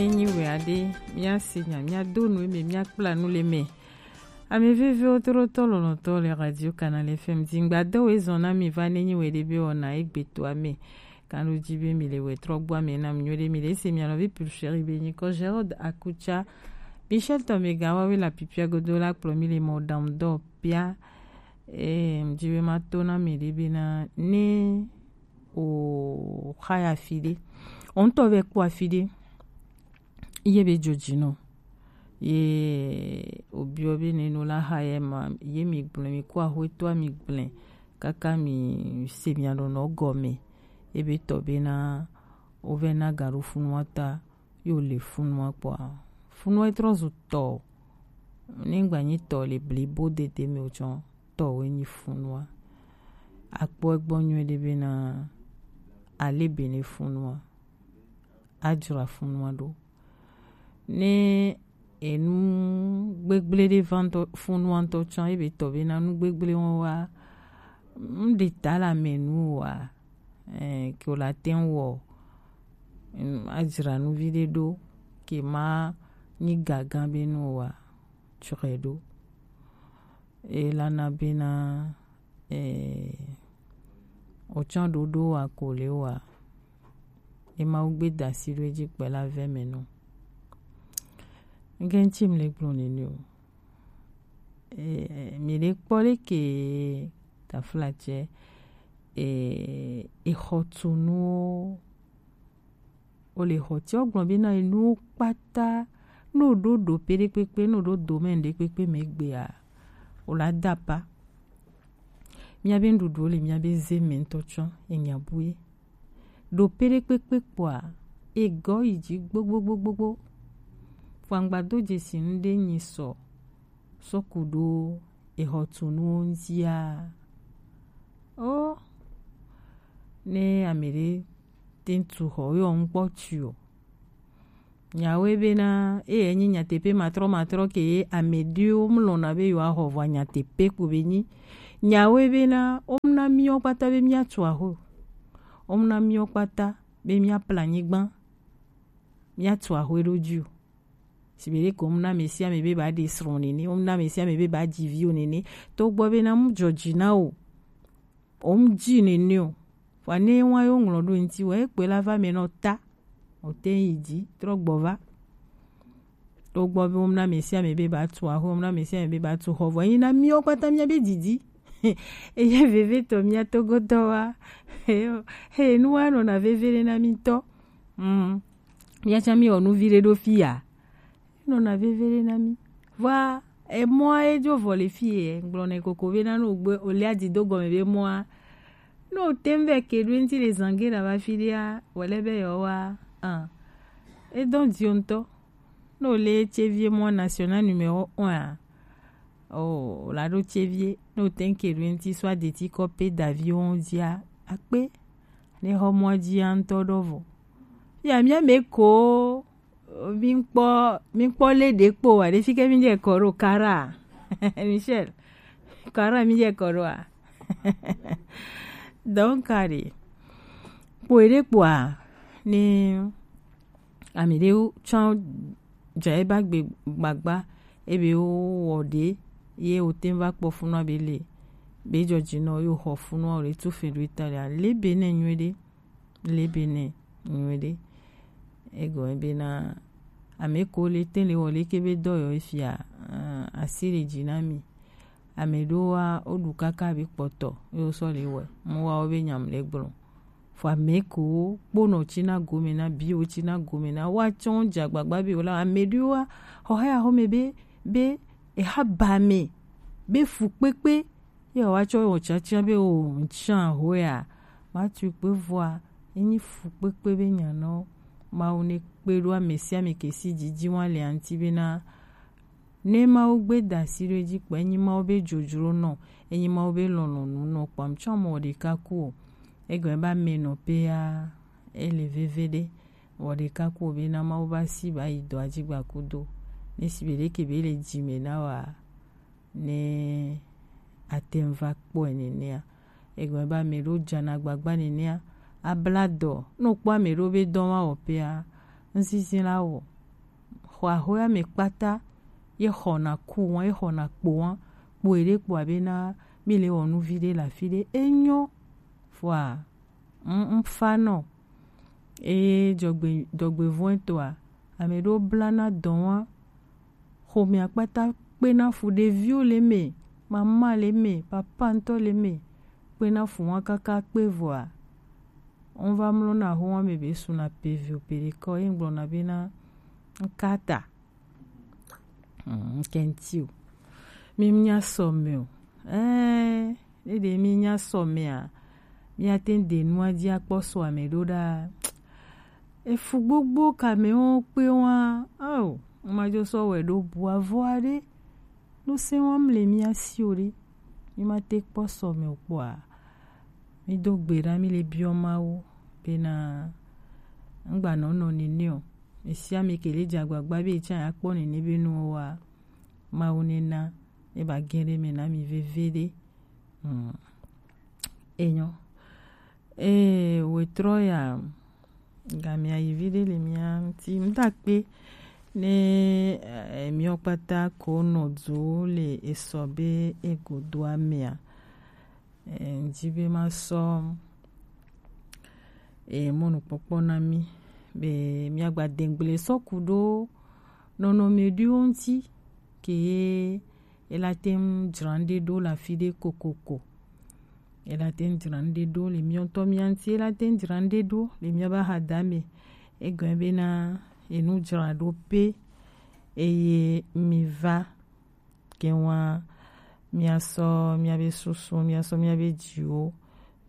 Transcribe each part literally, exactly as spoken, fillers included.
Enyi we ade, mia se nya, mia do nu eme, mia kpla nu le me. Ame vevewo to ɖo tɔ lɔlɔ̃tɔ le Radio Canal F M dzi. Ŋgba do we zɔn na mi va ne nyi we ɖe be wɔna egbe to ame. Kan ɖo dzi be mi le we trɔ gbɔ ame na mi nyo ɖe mi le se mia nɔvi Pulchérie be nyi kɔ Gérald Akucha. Michel Tomega wa we la pipia godo la kplɔ mi le mɔ dam dɔ pia. Eh, mi dzi be ma to na mi ɖe be na ne o xa ya fi ɖe. O ŋutɔ vɛ kpɔ afi ɖe. Ye be dzodzi nɔ. Ye obiɔ be ne no la xa ye ma, ye mi gblẽ, mi ku axwe toa mi gblẽ. Kaka mi se mia nɔ nɔ gɔme. Ye be tɔ be na o vɛ na ga ɖo funua ta, yo le funua kpɔa. Funua trɔ zu tɔ. Ne ŋgba nyi tɔ le blibo dede me o tsɔ tɔ we nyi funua. Akpɔ egbɔ nyuie ɖe be na ale be ne funua. Adzra funua ɖo. Ne enu gbegble ɖe va ŋutɔ, funua ŋutɔ tsã, ebe tɔ be na nu gbegble wɔn wa, ŋɖe ta le ame nu wa, eh, ke o la te ŋu wɔ, mm, adzra nu vi ɖe ɖo, ke ma nyi gaga be nu wa, tsɔe ɖo. Elana bena, eh, otsã ɖoɖo wa ko le wa. Ema wo gbe dasi ɖo edzi kpe la vɛ me no. Nge ŋtsi mle gblɔ nene o. Eh, mi le kpɔ le ke tafla tsɛ, eh, exɔtunuwo. O le xɔ ti o gblɔ be na enuwo kpata, no ɖo ɖo pe ɖe kpekpe, no ɖo domaine ɖe kpekpe me gbea, o la da pa. Mia be nuɖuɖuwo le mia be ze me ŋutɔ tsɔ enya bue. Ɖo pe ɖe kpekpe kpɔa, egɔ yi dzi gbogbogbogbo. Fangba do dzesi nu ɖe nyi sɔ, sɔ ku ɖo exɔtunuwo ŋutia. O, ne ame ɖe te ŋu tu xɔ, ye ŋkpɔ tui o. Nyawoe bena, eye nyi nyateƒe matrɔmatrɔ ke ye ame ɖewo mlɔna be yewoaxɔ vɔa nyateƒe ko be nyi. Nyawoe bena, womna míwo kpata be míatu axo. Womna míwo kpata be míapla anyigba, míatu axoe ɖo dzi o. Sigbe ɖe ko womna ame sia ame be ba ɖe srɔ̃ nene, womna ame sia ame be ba dzi viwo nene. Togbɔ bena mu dzɔdzi na o. Wom dzi nene o. Vɔa ne wa yo ŋlɔ ɖo ŋti, wɔ ekpe la va me nɔ ta. O te yi dzi, trɔ gbɔ va. Togbɔ be womna ame sia ame be ba tu axo, womna ame sia ame be ba tu xɔ. Vɔ yi na míwo kpata mía be didi. Eye veve tɔ mía togo tɔ wa. He, he, nu wa nɔna veve ɖe na mí tɔ. Mm. Mía tsã mí wɔ nu vi ɖe ɖo fi ya. Nɔna veve ɖe na mí. Vɔa, emɔa ye dzo vɔ le fi ye, gblɔ nɛ koko be na no gbe, o lia di do gɔme be mɔa. No te ŋu vɛ ke ɖo ŋti le zange ɖa va fi ɖea, wòle be yewoa, ah. Edɔn dio ŋutɔ. Ne wòle tsevi mɔ national numéro un a, o, wòla ɖo tsevie. Ne wòte ŋu ke ɖo ŋti sɔ adeti kɔ pe daviwo ŋu dzia, akpe. Ne xɔ mɔa dzia ŋutɔ ɖɔ vɔ. Fia mía me ko mi kpɔ, mi kpɔ le ɖe kpo wa ɖe fi ke mi dze kɔ ɖo kara. Michel, kara mi dze kɔ ɖo a. Donc kari. Kpo ɖe kpoa, ne ame ɖewo tsã dze ebe agbe gbagba, ebe wo wɔ ɖe, ye wote va kpɔ funua be le, be dzɔdzi nɔ yo xɔ funua o le tu fe ɖo eta le, ale be ne nyuie ɖe, le be ne nyuie ɖe. Egɔme bena ame ko le te le wɔ le ke be dɔ yɔ efia, ah, asi le dzi na mi. Ame ɖewoa, woɖu kaka be kpɔtɔ, ye wosɔ le wɔe. Mu wa wo be nyam le gblɔ. Fɔ ame ko kponɔ tsi na gome na bi wo tsi na gome na wa tsɔ dze agbagba be wo la ame ɖewoa, xɔ haya xɔ me be, be eha ba me, be fu kpekpe, ye wa tsɔ wɔ tsatsia be o ntsia hoya, ma tu kpe vɔa, enyi fu kpekpe be nya nɔ, Mawu ne kpe ɖo ame sia ame ke si dzidzi wa le anti be na Ne Mawu gbe da asi ɖo edzi kpɔ, enyi Mawu be dzodzro nɔ, enyi Mawu be lɔlɔ̃nu nɔ kpam tsɔ mɔ ɖeka ku o. Egɔme ba me nɔ pea, ele veve ɖe. Wɔ ɖeka ku o be na Mawu ba si ba yi dɔ adzigba kudo. Ne si be ɖeke be le dzi me na wa, ne ate ŋu va kpɔe nenea. Egɔme ba me ɖo dzana gbagba nenea, abla dɔ. Ne wokpɔ ame ɖo be dɔ ma wɔ pea, ŋsisi la wɔ. xɔ axɔe ame kpata, ye xɔna ku wan, ye xɔna kpo wan, kpo eɖe kpoa bena mi le wɔ nu vi ɖe le afi ɖe. Enyo, vɔa, n, n fa nɔ. Eye dzɔgbe, dzɔgbevɔ̃etɔa, ame ɖewo blana dɔ wan, xomea kpata kpena fu, ɖeviwo le me, mama le me, papa ŋutɔ le me, kpena fu wan kaka kpe vɔa, n va mlɔna ho wan me be suna pe vi o pe ɖe kɔ, ye n gblɔna bena n kata. Mm, n kɛnti o. Mi nya sɔ me o. Ɛɛ, ne ɖe mi nya sɔ mea, mi ate ŋu de nua dzi akpɔ sɔ ame ɖo ɖa. Efu gbogbo ka me wo kpe wa. Ao, ma jo sɔ wɛ ɖo bua vɔa ɖe. No se wa mle mi asi o ɖe. Mi ma te kpɔ sɔ me o kpɔa. Mi do gbe ɖa, mi le biɔ Mawu bena ŋgba nɔ nɔ nene o. Esi ame ke le dze agbagba be etsa ya kpɔ nene be nuwo wa, Mawu ne na e ba gɛn ɖe me na mi veve ɖe. Hmm. Enyo. Ee, wetrɔ ya, gamia yi vi ɖe le mia ŋuti. Ŋutakpe ne, eh, miɔ kpata ko nɔ du le esɔ be egodoa mea. Eh, ŋdi be ma sɔ, eh, mɔnukpɔkpɔ na mi be miagba dengble sɔ ku ɖo nɔnɔme ɖewo ŋuti ke ye ela te ŋu dzra ŋɖe ɖo le afi ɖe kokoko. Ela te ŋu dzra ŋɖe ɖo le miɔ ŋutɔ mia ŋuti, ela te ŋu dzra ŋɖe ɖo le miabe ahadame. Egɔme bena enu dzra ɖo pe eye mi va ke wa miasɔ miabe susu, miasɔ miabe dziwo,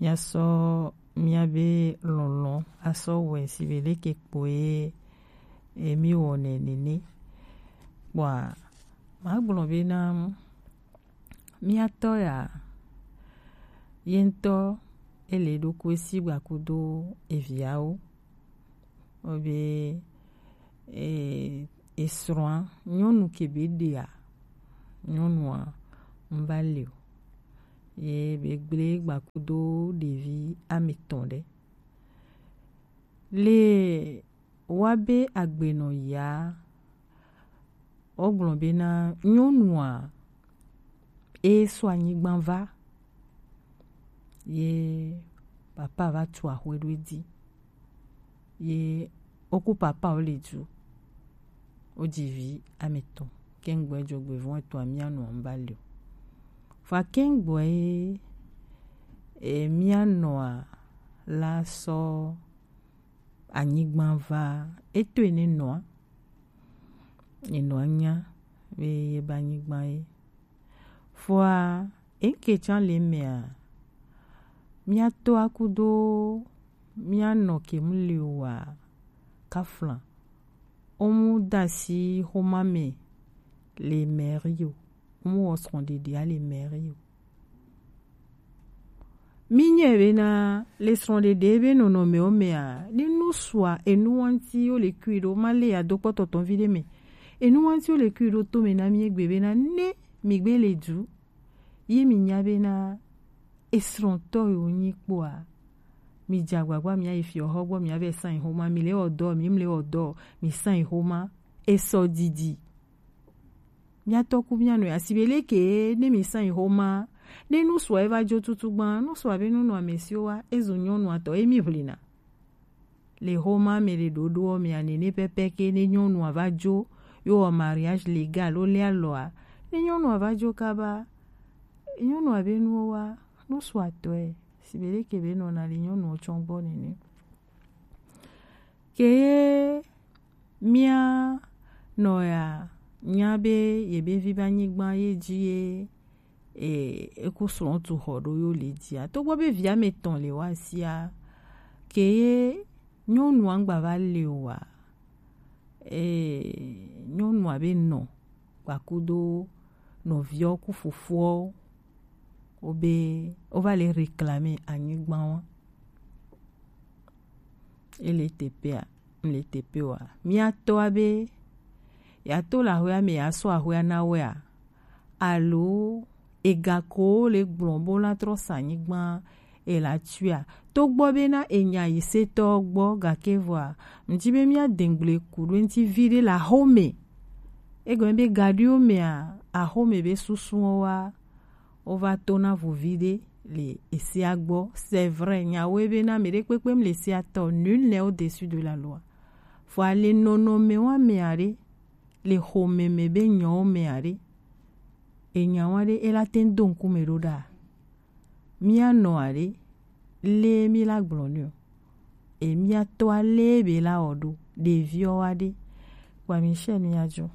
miasɔ miabe lɔlɔ asɔ wɛ si be leke kpoe e mi wɔnɛ nene. Kpɔa, ma gblɔ bena miatɔ ya, ye ŋutɔ ele ɖokui si gba kudo eviawo. Obe, e, esrɔ̃a, nyɔnu ke be ɖea, nyɔnua ŋva le o. Ye be gble gba kudo ɖevi ame etɔ̃ ɖe. Le wa be agbenɔ ya, wogblɔ bena nyɔnua e sɔ anyigba va, ye papa va tu axwe ɖo edzi, ye woku papa wo le du, wodzi vi ame etɔ̃, ke ŋgbɔe dzɔgbevɔ̃ etɔ̃a mia nɔa ŋva le o. Fa ke ŋgbɔe, e, mia nɔa la sɔ anyigba va, eto ene nɔa, enɔa nya be ye ba anyigba ye. Fɔa, enke tsa le mea, miatɔ akudo mianɔ ke mu le wa kafla. Omu dasi xoma me le mairie o. Omu wɔ srɔ̃ɖeɖea le mairie o. Mi nyɛ bena le srɔ̃ɖeɖe be nɔnɔmewo mea, ne nu sua enu wanti wo le kui ɖo, ma le ya do kpɔtɔtɔ vi ɖe me. Enu wanti wo le kui ɖo to me na mi egbe bena ne mi gbe le du, ye mi nya bena esrɔ̃tɔ yo nyi kpɔa, mi dze agbagba mi ayi fiɔ xɔ gbɔ, mi avɛ sã yi xoma, mi le wɔ dɔ, mi mle wɔ dɔ, mi sã yi xoma, esɔ didi. Miatɔ ku mianɔ ya, si be leke ne mi sã yi xoma, ne nu sua eva dzo tutu gba, nu sua be nu nɔ ame siwo wa, ezu nyɔnua tɔ, emi ʋlina. Le xoma me le ɖoɖoɔ mea, nene pɛpɛ ke ne nyɔnua va dzo, yo wɔ mariage légal, wo le alɔa, ne nyɔnua va dzo kaba, nyɔnua be nuwo wa, nu sua tɔe, si be leke be nɔna le nyɔnuwo tsɔ gbɔ nene. Ke ye mia nɔ ya nya be ye be vi be anyigba ye dzi ye, e, eku srɔ̃ tu xɔ ɖo yo le dzia. Togbɔ be via me tɔn le wa sia, ke ye nyɔnua ŋgba va le o wa, e, nyɔnua be nɔ gbakudo nɔviɔ ku fofoɔ wo be wo va le réclamer anyigba wa. Ele tepea, mle tepe wa. Miatɔa be ya to la hoya me ya sɔ ahoya na wea, alo ega ko le gblɔ bo la trɔ sa anyigba e la tuia. Togbɔ be na enya yi setɔ gbɔ gake vɔa, mdi be mia dengble ku ɖo ŋti vi ɖe la home. Egɔme be gaɖiwo mea, axome be susuwo wa, wova to na vuvi ɖe le esia gbɔ. C'est vrai, nyawoe be na mɛ ɖe kpekpe mle esia tɔ, nul n'est au-dessus de la loi. Fo ale nɔnɔme wa mea ɖe, le xome me be nyɔwo mea ɖe, enya wa ɖe ela te ŋ do ŋkume ɖo ɖa. Mía nɔ aɖe, le mi la gblɔ nɛ o. E mía to ale be la wɔ ɖo, ɖeviwo wa ɖe. Kpa mi sɛ mi adzo.